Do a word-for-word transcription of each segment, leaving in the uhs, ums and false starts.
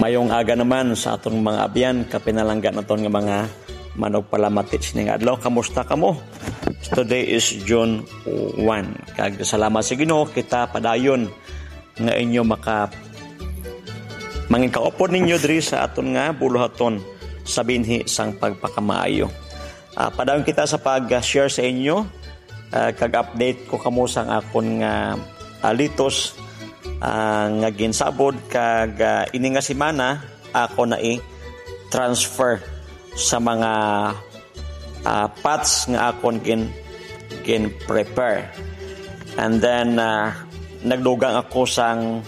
Mayong aga naman sa aton mga abyan, kapinalangga naton nga mga manugpalamati sining adlaw. Kamusta kamo? Today is June one. Kag salamat sa Ginoo, kita padayon nga inyo maka mangin kaupod ninyo diri sa aton nga buluhaton sa binhi sang pagpakamaayo. Ah, padayon kita sa pag-share sa inyo, ah, kag update ko kamo sang akon nga, ah, litos, ah, nga ginsabod, kag, ah, ini nga semana ako na i-transfer sa mga, ah, pots nga akon gin-, gin-prepare. And then, ah, nagdugang ako sang,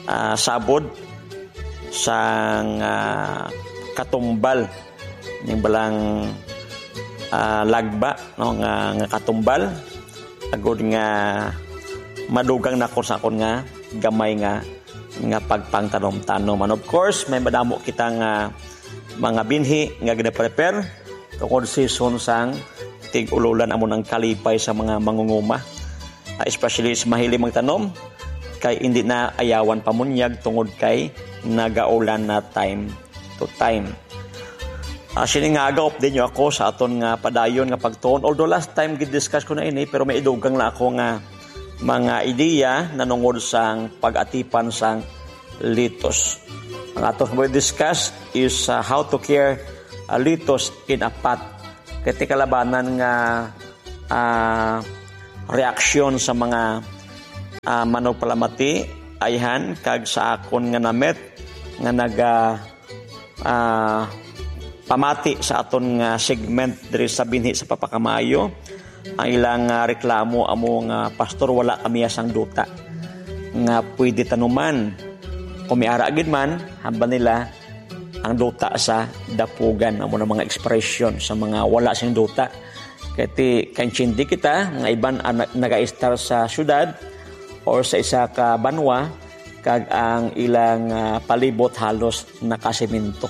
ah, sabod sang, ah, katumbal ning balang, ah, lagba, no, nga, nga katumbal, agod nga madugang na ko sa akon nga gamay nga, nga pagpangtanom-tanom. And of course, may madamo kita nga mga binhi nga gina-prepare tungod season sang tig-ululan, amo nang kalipay sa mga mangunguma, ah, especially sa mahilig magtanom, kay hindi na ayawan pamunyag tungod kay nagaulan na time to time. Ah, sini nga aga, update nyo ako sa aton nga padayon nga pagtuon. Although last time gid-discuss ko na ini, pero may idugang na ako nga mga ideya nanungod sang pag-atipan sang litos. Ang aton nga discuss is, ah, how to care, ah, litos in a pot. Kay ti kalabanan nga, ah, reaksyon sa mga, ah, manugpalamati, ayhan, kag sa akon nga namit nga naga, ah, pamati sa aton nga segment diri sa binhi sa pagpakamaayo. Ang ilang, ah, reklamo amo nga, "Pastor, wala kami sang duta nga pwede tanuman. Kung may ara gid man," hambal nila, "ang duta sa dapugan." Amo na mga ekspresyon sa mga wala sing duta. Kay ti, kaintindi kita nga iban ang na-, nagaistar sa syudad or sa isa ka banwa, kag ang ilang, ah, palibot halos nakasemento.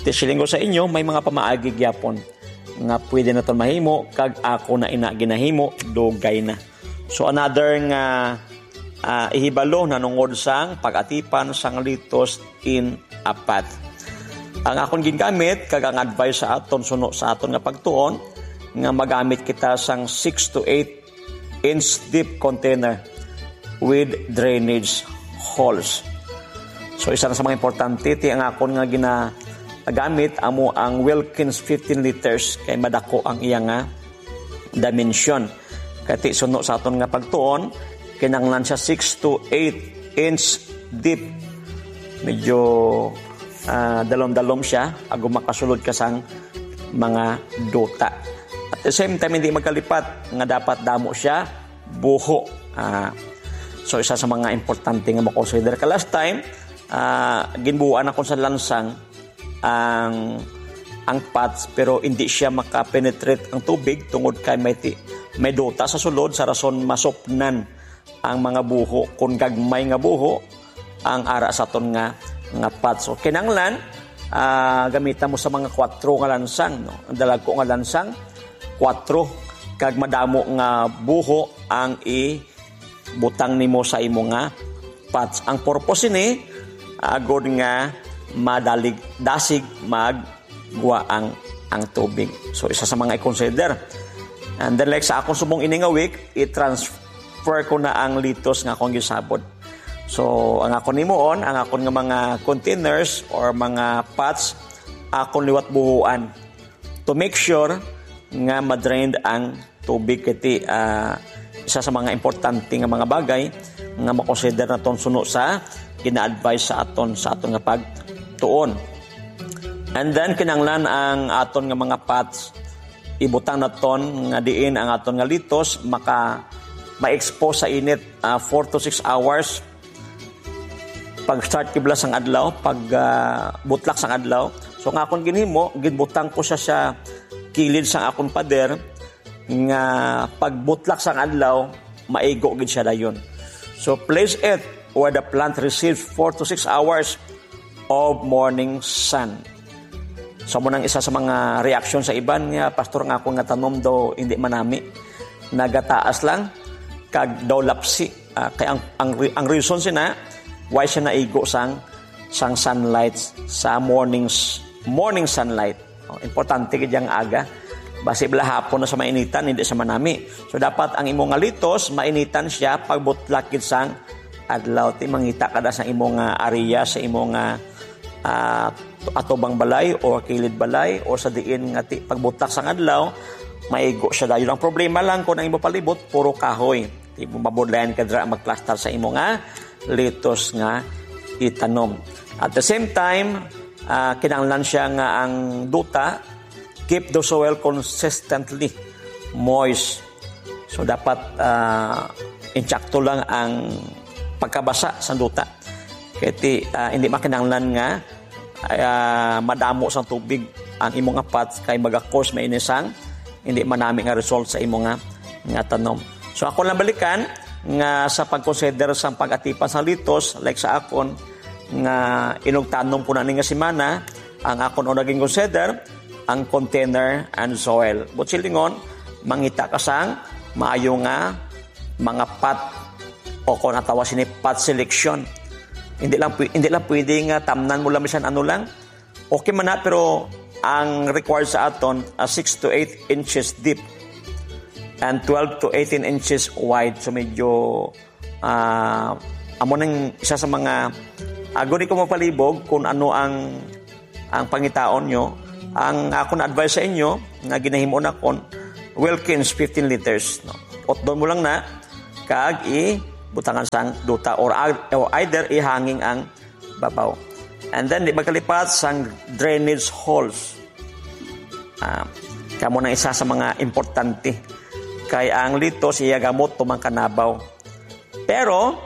Ti siling ko sa inyo, may mga pamaagi gyapon nga pwede naton mahimo, kag ako na ina ginahimo, dugay na. So, another nga, ah, ihibalo nanungod sang pag-atipan sang litos in a pot. Ang akon gingamit kag ang advice sa aton suno sa aton nga pagtuon nga magamit kita sang six to eight inch deep container with drainage holes. So, isa na sa mga importante, ti ang akon nga ginagamit amo ang Wilkins fifteen liters, kay madako ang iya nga dimension. Kay ti suno sa aton nga pagtuon, kinahanglan siya six to eight inch deep. Medyo, ah, dalom-dalom siya, agud makasulod ka sang mga duta. At the same time, hindi magkalipat nga dapat damo siya buho. Ah, so, isa sa mga importante nga makonsider. Ka last time, ah, ginbuuan ako sa lansang ang, ang pots, pero hindi siya makapenetrate ang tubig tungod kay may ti-, may duta sa sulod, sa rason masupnan ang mga buho. Kung gagmay nga buho ang ara sa aton nga, nga pots. So, kinahanglan, ah, gamita mo sa mga kwatro nga lansang, no? Ang dalagko nga lansang, kwatro, kag madamo nga buho ang i-, butang nimo sa imo nga pots. Ang purpose ini, agod nga madalig, dasig maggwa ang, ang tubig. So, isa sa mga i-consider. And then, like, sa akong subong ini nga week, i-transfer ko na ang litos nga akong gisabod. So, ang akon himuon, ang akon nga mga containers or mga pots, akon liwat buhuan to make sure nga ma-drained ang tubig. Kay ti, ah, isa sa mga importante nga mga bagay nga makonsider naton suno sa gina-advise sa aton, sa aton nga pagtuon. And then, kinahanglan ang aton nga mga pots, ibutang naton nga diin ang aton nga litos maka ma-expose sa init, ah, four to six hours pag start kibla sang adlaw, pag, ah, butlak sang adlaw. So, ang akon ginhimo, ginbutang ko siya sa kilid sang akon pader, nga pagbutlak sang adlaw, maigo gid siya dayon. So, place it where the plant receives four to six hours of morning sun. So, mo nang isa sa mga reaksyon sa iban nga, "Pastor, nga akon nga tanom daw hindi manami, nagataas lang, kag daw lapsi." Ah, kay ang, ang re-, ang reason sina, why siya naigo sang sang sunlight sa mornings, morning sunlight. Oh, importante gid yang aga. Basi bala hapon na sa mainitan, hindi sa manami. So, dapat ang imo nga litos, mainitan siya pagbutlak gid sang adlaw. Ti mangita ka da sa imo nga area, sa imo nga, ah, atubang balay o kilid balay o sa diin nga ti pagbutlak sang adlaw, maigo siya dayon. Ang problema lang kung ang imo palibot, puro kahoy. Ti mo mabudlayan ka dira magplastar sa imo nga litos nga itanom. At the same time, ah, kinahanglan siya nga ang duta keep the soil consistently moist. So, dapat, ah, insakto lang ang pagkabasa sa duta. Kay ti, ah, hindi makinahanglan nga, ah, madamo sang tubig ang imo nga pot kay maga-cause may inisang hindi manami nga result sa imo nga, nga tanom. So, ako lang balikan nga sa pag-consider sang pag-atipan sang litos, like sa akon, nga inugtanom ko na ni nga semana, ang akon una gin-consider, ang container and soil. But silingon, mangita ka sang maayo nga mga pot o kung ang tawag sini pot selection. Hindi lang pwe-, hindi lang pwede nga tamnan mo lang bisan ano lang. Okay man na, pero ang required sa aton, ah, six to eight inches deep and twelve to eighteen inches wide. So medyo, ah, amo nang isa sa mga, ah, guni ko magpalibog kung ano ang, ang pangitaon nyo. Ang akon advice sa inyo nga ginahimo na kon Wilkins fifteen liters, no? Utdon mo lang na kag i butangan sang duta or, or either ihanging ang babaw. And then, di magkalipat sang drainage holes. Ah, kamo na isa sa mga importante. Kay ang litos, iya gamot tumang kanabaw. Pero,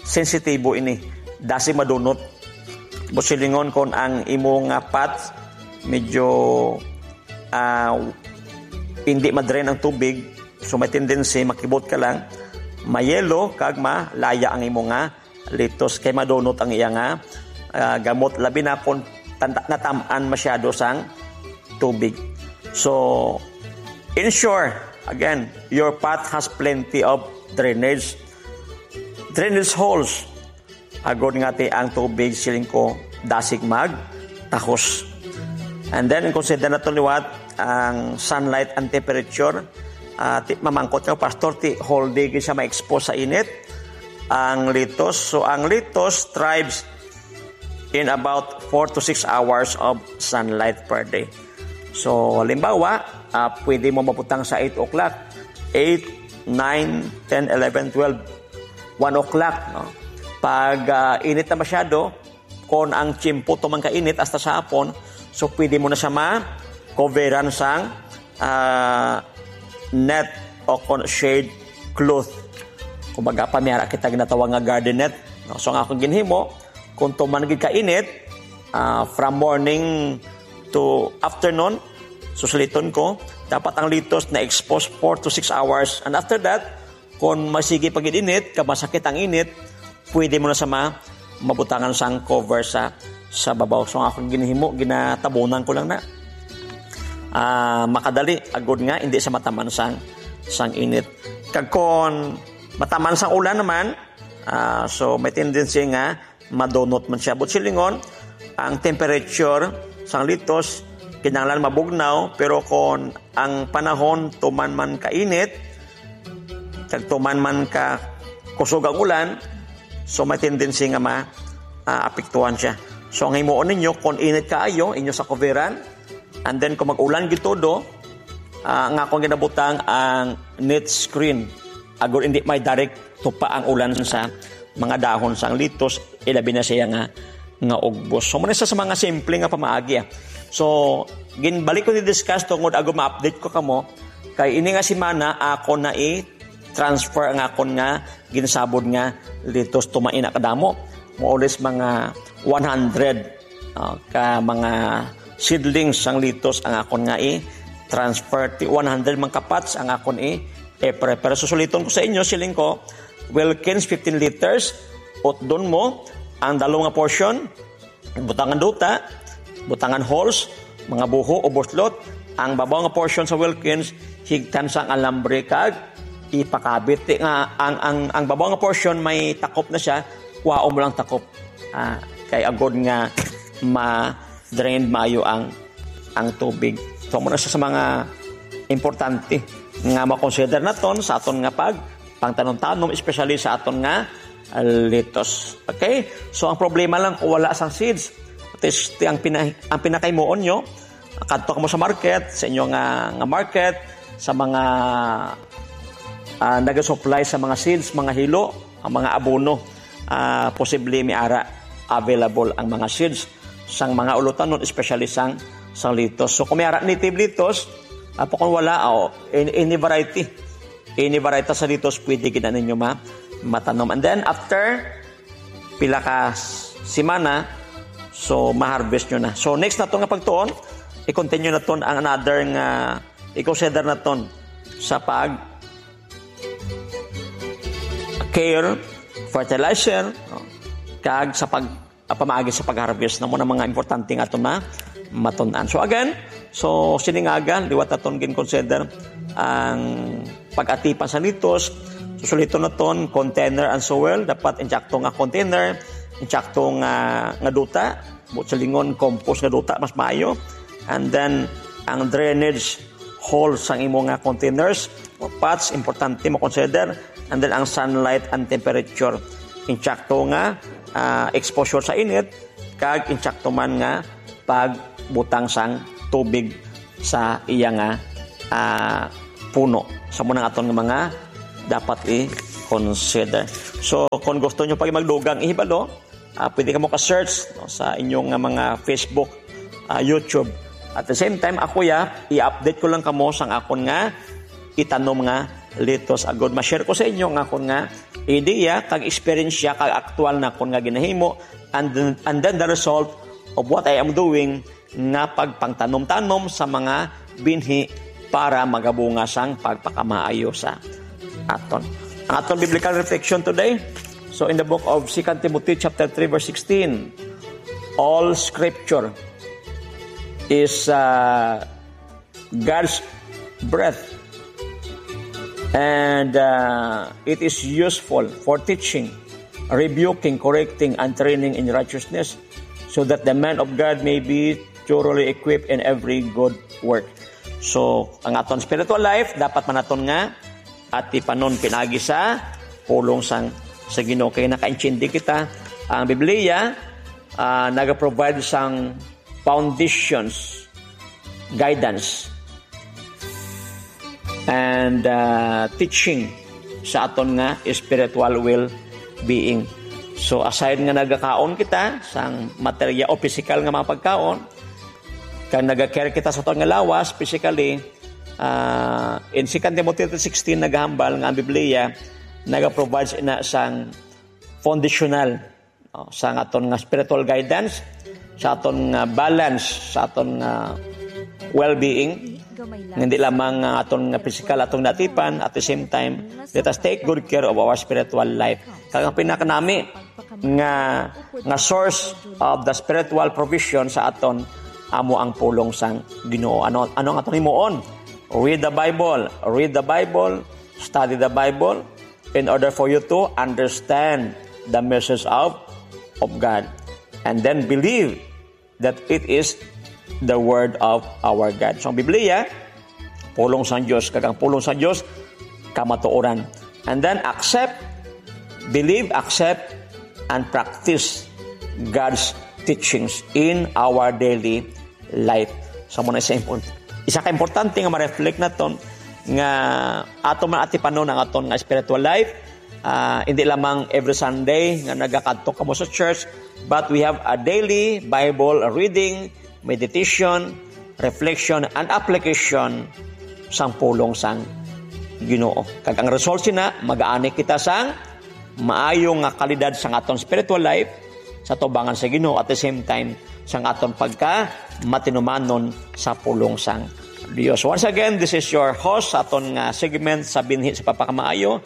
sensitibo ini. Dasi madunot. Busilingon kon ang imo nga pot, medyo, ah, hindi madrain ang tubig, so may tendency, makibot ka lang, mayelo, kag malaya ang imo nga litos kay madunot ang iya nga, ah, gamot, labi na kung tanda-, natam-an masyado sang tubig. So, ensure, again, your pot has plenty of drainage, drainage holes. Agod nga ti ang tubig, siling ko, dasig mag tahos. And then, consider na to liwat ang sunlight and temperature. Ah, ti, mamangkot ka, Pastor, ti whole day gid siya ma-expose sa init ang litos. So, ang litos thrives in about four to six hours of sunlight per day. So, halimbawa, ah, pwede mo mabutang sa eight o'clock. Eight, nine, ten, eleven, twelve, one o'clock, no? Pag, ah, init na masyado, kon ang tiyempo to man kainit hasta sa hapon, so pwede mo na siya ma-coveran sang, ah, net o kon shade cloth. Kumbaga, pa may ara kita ginatawag nga garden net, no? So, ang akong ginhimo, kung tuman gid kainit, ah, from morning to afternoon, susuliton ko, dapat ang litos na-expose four to six hours. And after that, kung masigi pa gid init, kag masakit ang init, pwede mo na sa ma-, mabutangan sang cover sa, sa babaw. So, ang akong ginhimo, ginatabunan ko lang na. Ah, makadali, agod nga, hindi sa mataman sang, sang init. Kag kung mataman sang ulan naman, ah, so may tendency nga madunot man siya. But silingon, ang temperature sang litos, kinahanglan mabugnaw, pero kung ang panahon tuman man kainit, kag tuman man ka kusog ang ulan, so may tendency nga ma-, ah, apektuhan siya. So, ang himuon ninyo, kung init kaayo, inyo sa kuveran, and then kung mag-ulan gid todo, ah, ang akong ginabutang ang net screen. Agod hindi may direct tupa ang ulan sa mga dahon sang litos, ilabi na siya nga, nga ugbos. So, muna sa, sa mga simple nga pamaagi, ah. So, ginbalik ko ni-discuss tungod agod ma-update ko kamo, kay ini nga semana, ako na i-transfer ang akon nga ginsabod nga litos tumaina kadamo. More or less mga one hundred, ah, ka mga seedlings sang litos ang akon nga i-transfer. Ti one hundred man ka pots ang akon i-, i-prepare. Susuliton ko sa inyo, siling ko, Wilkins fifteen liters, utdon mo ang dalo nga portion, butangan duta, butangan holes, mga buho o buslot. Ang babaw nga portion sa Wilkins, higtan sang alambre kag ipakabit. Ti nga ang, ang, ang babaw nga portion may takop na siya, kuhaon mo lang takop. Ah, ay agod nga ma-drain maayo ang, ang tubig. So, muna sa, sa mga importante nga ma-consider naton sa aton nga pag pangtanom-tanom, especially sa aton nga, ah, lettuce. Okay? So, ang problema lang kung wala sang seeds. At least, ang pina-, ang pinakaimuon nyo, kadto kamo sa market, sa inyo nga, nga market, sa mga, ah, nagasupply sa mga seeds, mga hilo, ang mga abono, ah, posible may ara available ang mga seeds sang mga ulutanon, especially sang, sang lettuce. So, kung may ara native lettuce, ah, kung wala, oh, any, any variety, any variety sa lettuce, pwede gid na ninyo ma-, matanom. And then, after pila ka s-, semana, so, ma-harvest nyo na. So, next naton nga pagtuon, i-continue naton ang another nga i-consider naton sa pag care, fertilizer, no? Kag sa pag, ah, pamaagi sa pag-harvest, na mo na mga importante nga aton na matun-an. So again, so sining aga, liwat naton gin-consider ang pag-atipan sa lettuce. So, suliton naton, container and soil, dapat insakto nga container, insakto nga, nga duta, buot silingon, compost nga duta, mas maayo. And then, ang drainage hole sang imo nga containers or pots, importante mo consider. And then, ang sunlight and temperature, insakto nga, ah, exposure sa init, kag insakto man nga pagbutang sang tubig sa iya nga, ah, puno. Sa muna aton nga mga dapat i-consider. So, kung gusto nyo pa magdugang ihibalo, ah, pwede kamo ka-search, no, sa inyong nga mga Facebook, ah, YouTube. At the same time, ako ya, i-update ko lang kamo sang akon nga itanom nga lettuce. Agod ma-share ko sa inyo nga akon nga ideya, kag eksperyensya, kag aktual na akon nga ginahimo, and then, and then the result of what I am doing nga pagpangtanom-tanom sa mga binhi para magabunga sang pagpakamaayo sa aton. Ang aton biblical reflection today, so in the book of Second Timothy chapter three verse sixteen, "All scripture is, uh, God's breath, and, uh, it is useful for teaching, rebuking, correcting, and training in righteousness, so that the man of God may be thoroughly equipped in every good work." So, ang aton spiritual life, dapat man naton nga atipanon pinaagi sa pulong sang, sa Ginoo. Kay nakaintindi kita, ang Biblia, ah, nagaprovide sang foundations, guidance, and, uh, teaching sa aton nga spiritual well-being. So, aside nga nagakaon kita sang materya o pisikal nga mga pagkaon, kag nagacare kita sa aton nga lawas, physically, uh, in Second Timothy three sixteen, nagahambal nga ang Biblia nagaprovide na sang foundational, no, sa aton nga spiritual guidance, sa aton nga balance, sa aton nga well-being. Hindi lamang nga aton nga physical atong natipan, at the same time, let us take good care of our spiritual life. Kag ang pinakanami nga, nga source of the spiritual provision sa aton, amo ang pulong sang Ginoo. Ano, ano ang aton himuon? Read the Bible. Read the Bible. Study the Bible in order for you to understand the message of, of God. And then believe that it is the word of our God. So, ang Biblia, pulong sang Dios, kag ang pulong sang Dios, kamatuoran. And then accept, believe, accept, and practice God's teachings in our daily life. So, muna isa import-, isa ka importante nga ma-reflect naton nga ato man atipanon ang aton nga spiritual life. Ah, hindi lamang every Sunday nga nagakadto kamo sa church, but we have a daily Bible reading, meditation, reflection, and application sang pulong sang Ginoo. Kag ang result sina, mag-aani kita sang maayo nga kalidad sang aton spiritual life sa tubangan sa Ginoo, at the same time, sang aton pagka matinumanon sa pulong sang Dios. Once again, this is your host sa aton nga segment sa Binhi sa Pagpakamaayo.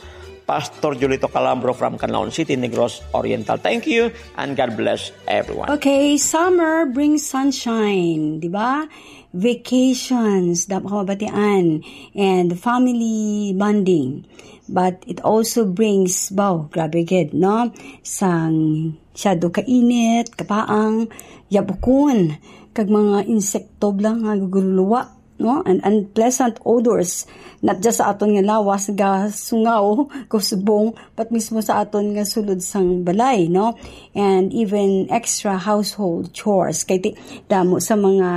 Pastor Julito Calambro from Canlaon City, Negros Oriental. Thank you and God bless everyone. Okay, summer brings sunshine, di ba? Vacations, damo ka mabatian, and family bonding. But it also brings, baw, grabe gid, no? Sang syado ka init, kapaang, yabukon, kag mga insekto bala nga gugululuwa, no? And unpleasant odors, not just sa aton nga lawas, gasungaw, kusbong, but mismo sa aton nga sulod sang balay, no? And even extra household chores. Kay ti-, damo sa mga,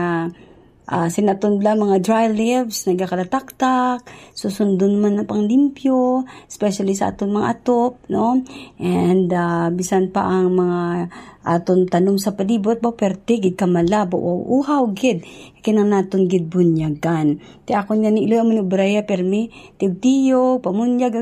ah, sinaton bala, mga dry leaves, nagakalataktak, susundon man ang panglimpyo, especially sa aton mga atop, no? And, ah, bisan pa ang mga aton tanom sa palibot, ba, perti gid kamalabo o uhaw gid, kinahanglan naton gid bunyagan. Ti akon nga ni Iloy, amo ni Braya, permi, tiyog-tiyog, pamunyag,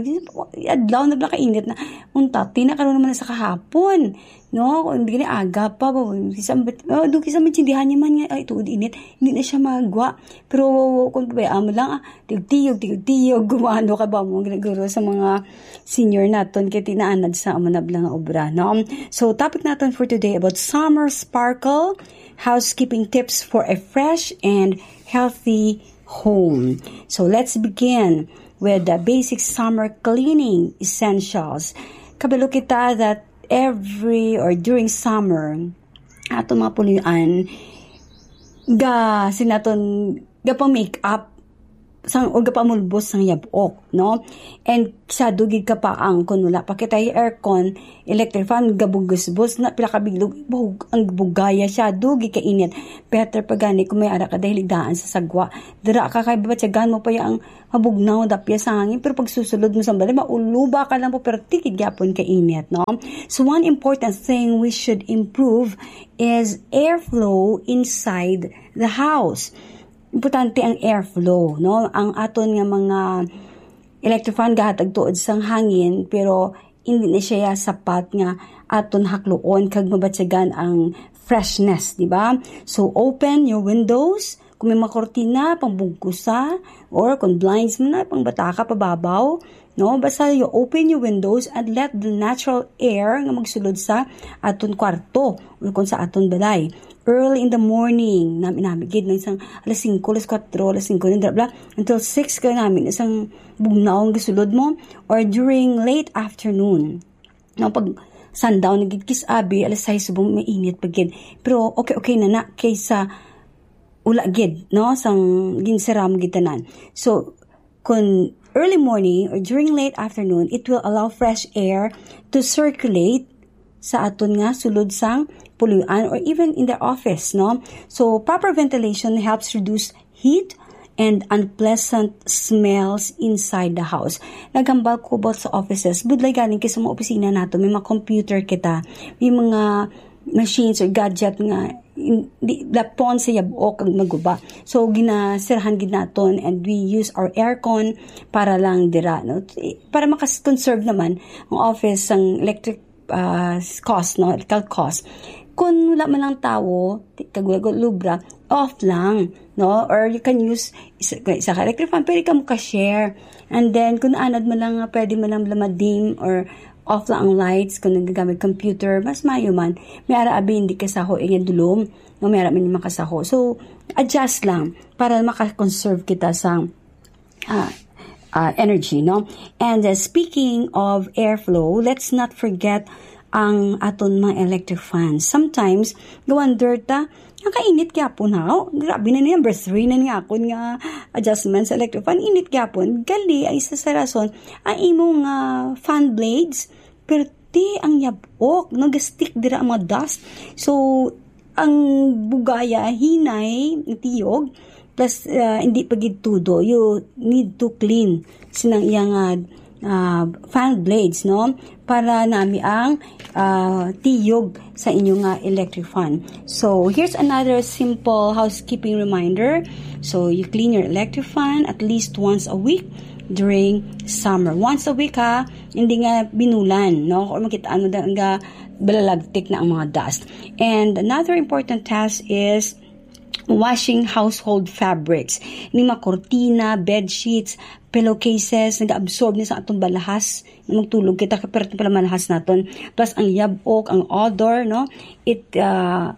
adlaw na bala kainit na. Unta, ti na karon naman na sa kahapon, no? Kung hindi gani aga pa, ba, kisa, oh, do, kisa man tsindihan niya man nga, ay, tuod init, hindi na siya magwa. Pero kung pabayaan mo lang, ah, tiyog-tiyog, tiyog-tiyog, gumano ka ba mo, ginaguro sa mga senior naton, kay tinaanad sa amo na bala nga obra, no? So, topic naton for today about summer sparkle, housekeeping tips for a fresh and healthy home. So, let's begin with the basic summer cleaning essentials. Kabalo kita that every or during summer, ato mga puloy-an, ga, sinaton, ga pa make up sang, o ga pa mulbos sang yab-ok, no? And sa dugid ka pa ang, kung wala pa kita aircon, electric fan, gabugusbos na, pila ka biglog, bug-, ang bugaya siya, dugid ka init. Better pa gani kung may ara ka dahil daan sa sagwa. Dira ka kay batyagan mo pa ya ang mabugnaw, dapya sa hangin, pero pagsusulod mo sa balay, mauluba ka lang po, pero tikid gyapon ka init, no? So, one important thing we should improve is airflow inside the house. Importante ang airflow, no? Ang aton nga mga electric fan gahatag tuod sang hangin, pero hindi na siya sapat nga aton hakluon kag mabatyagan ang freshness, di ba? So, open your windows. Kung may mga kortina, pangbugkusa, or kung blinds mo na, pangbataka, pababaw, no? Basta you open your windows and let the natural air nga magsulod sa aton kwarto or kung sa aton balay. Early in the morning, nami-nami gid, nang isang alas singko, alas kuwatro, alas singko na, bla, until six ka namin, isang bugnaw ang gisulod mo, or during late afternoon. No, pag sundown na gid kis abi, alas sais subong mainit pa gid. Pero okay, okay na na kaysa wala gid, no, sang ginsira mo gid tanan. So, kun early morning or during late afternoon, it will allow fresh air to circulate sa aton nga sulod sang puloy-an or even in the office, no? So, proper ventilation helps reduce heat and unpleasant smells inside the house. Naghambal ko about sa offices. Budlay galing kay sa mga opisina nato, may mga computer kita, may mga machines or gadget nga in-, di, lapon sa yab-ok ang maguba. So, ginasirahan gid naton and we use our aircon para lang dira, no? Para makas-conserve naman ang office sang electric, ah, cost, no? Electrical cost. Kung wala man lang tawo, ti-, kag wala lubra, off lang, no? Or you can use isa, isa ka electric fan, pwede ka mo ka-share. And then, kung anad mo lang, nga pwede mo lang lamadim or off lang ang lights, kung nagagamit computer, mas mayo man. May ara abi, hindi ka saho, eh, nga dulom, no? May ara man yung makasaho. So, adjust lang para maka-conserve kita sa, ah, ah, energy, no? And, uh, speaking of airflow, let's not forget ang aton mga electric fans. Sometimes, ga-wonder ta, ang kainit gyapon, ha? Oh, grabe na ni number three na ni akon nga adjustment sa electric fan. Init gyapon. Gali ay isa sa rason, ang imong, ah, fan blades, perti ang yab-ok, nag-stick dira ang mga dust. So, ang bugaya, hinay, tiyog, plus, ah, hindi pa gid tudo. You need to clean sinang iyang, ah, ah, fan blades, no? Para nami ang, ah, tiyog sa inyo nga electric fan. So, here's another simple housekeeping reminder. So, you clean your electric fan at least once a week during summer. Once a week, ha, hindi nga binulan, no? Or makita ano da nga balalagtik na ang mga dust. And another important task is washing household fabrics. Ni mga kortina, bed sheets, pillowcases, nag-absorb ni sa atong balahas. Magtulog kita, ka pero pala malahas naton. Plus, ang yabok, ang odor, no? It, uh,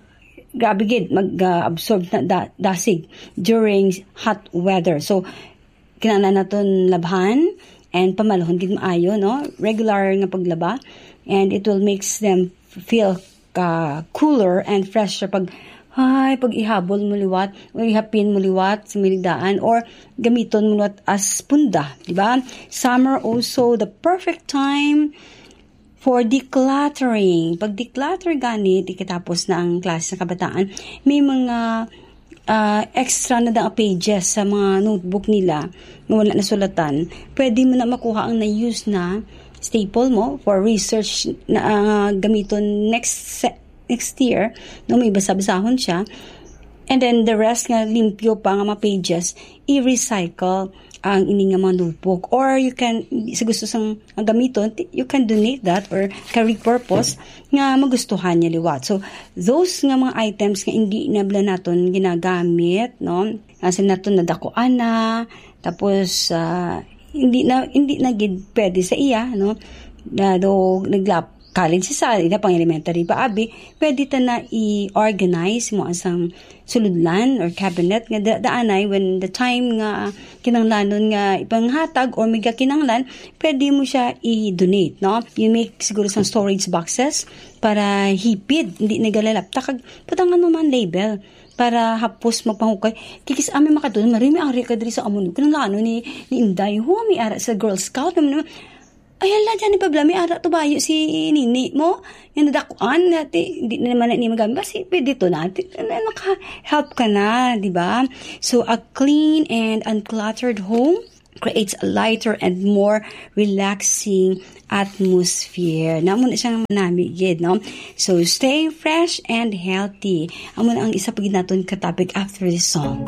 grabe gid, mag-absorb na da- dasig during hot weather. So, kinahanglan naton labhan and pamalahon gid maayo, no? Regular nga paglaba, and it will makes them feel ka cooler and fresher pag, ay, pag ihabol mo liwat o ihapin mo liwat sa miligdaan or gamiton mo liwat as punda, di ba? Summer also the perfect time for decluttering. Pag declutter gani, di katapos na ang klase sa kabataan, may mga ah, extra na dang pages sa mga notebook nila nga wala nasulatan. Pwede mo na makuha ang na-use na staple mo for research na ah, gamiton next se- next year, no, may basa-basahon siya. And then the rest nga limpyo pa nga mga pages, i-recycle ang ini nga mga notebook. Or you can, sa gusto sang ang gamiton, ti- you can donate that or ka repurpose nga magustuhan niya liwat. So, those nga mga items nga hindi na bala naton ginagamit, no? Asa naton nadakuan na, tapos ah, hindi na hindi na gid pwede sa iya, no? Na do naglap college sa ila pang elementary pa abi, pwede ta na i-organize mo asang suludlan or cabinet nga da- daanay when the time nga kinanglanon nga ipanghatag or may kinanglan, pwede mo siya i-donate, no? You make siguro sang storage boxes para hipid, hindi nagalalapta kag butangan mo man label para hapos magpahukay. Kikis ami makadto, mari may ari ka diri sa amo ni kinanglanon ni ni Inday. Ho, may ara sa Girl Scout naman. Ay, hala, dyan ni Pabla, may ara to bayo si Nini mo. Yung nadakuan, nati, hindi na naman na niya magamit. Kasi pwede to natin. Naka-help ka na, di ba? So, a clean and uncluttered home creates a lighter and more relaxing atmosphere. Namo na siyang manami gid, no? So, stay fresh and healthy. Amo na ang isa pa gid naton ka topic after this song.